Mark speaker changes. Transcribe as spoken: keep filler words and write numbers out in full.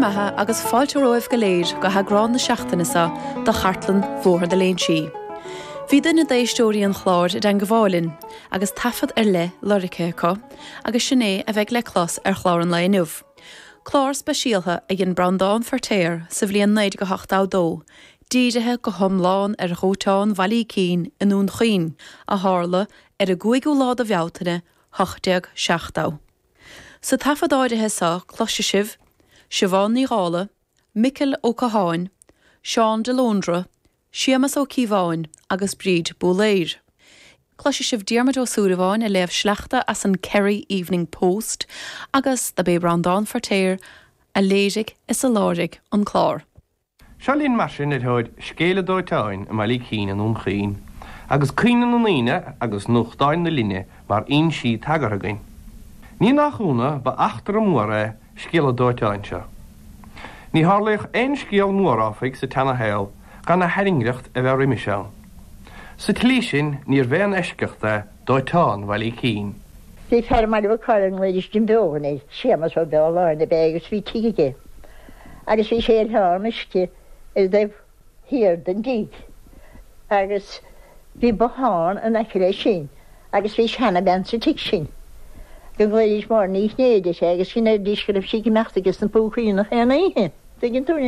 Speaker 1: bhur mbeatha agus fáilte romhaibh go léir go heagrán na seachtaine seo de Chartlann Bhóthar na Léinsí. Bhí duine d'éisteoirí an chláir i dteagmháil linn agus taifead ar leith lorgtha acu agus sin é a bheidh le clos ar chlár an lae inniu. Clár speisialta a dhein Breandán Feirtéar sa bhliain naoi déag ochtó dó, dírithe go hiomlán ar dhóiteán Bhaile Uí Cinn i nDún Chaoin a tharla ar an gcúigiú lá de Bhealtaine ocht déag seachtó. Sa taifead áirithe seo cloisfidh sibh, Siobhán Ní Dhála, Micil Ó Catháin, Seán de Lóndra, Séamus Ó Cíobháin agus Bríd Búléir. Cloisfidh sibh Diarmuid Ó Súilleabháin ag léamh sleachta as an Kerry Evening Post agus dob é Breandán Feirtéar a léirigh is a láithrigh an clár.
Speaker 2: Seo linn mar sin ar thóir scéal an dóiteáin i mBaile Uí Cinn i nDún Chaoin, agus cuimhne na ndaoine agus nuachtáin na linne mar fhoinsí tagartha againn. Ní nach ionadh ba eachtra mór é scéal an dóiteáin seo. Ní tharlaíodh aon scéal mór áfach sa tseanashaol gan a thairngreacht a bheith roimis ann. Sa tslí sin níorbh aon eisceacht é dóiteán Bhaile Uí Cinn.
Speaker 3: Bhí fear i mBaile Bhucáil a nglaoidís Jim Beogan air, Séamus Ó Beoláin ab ea agus bhí tigh aige. Agus bhí sé ar oileán uisce ar an dtaobh thiar den dtigh. Agus bhí bothán in aice leis sin agus bhí seanabhean sa tigh sin. Go nglaoidís Máire Ní Chinnéide uirthi agus sin ar dís go raibh sí ag imeacht aige sna púcaí nach aon oíche. Tuigeann tú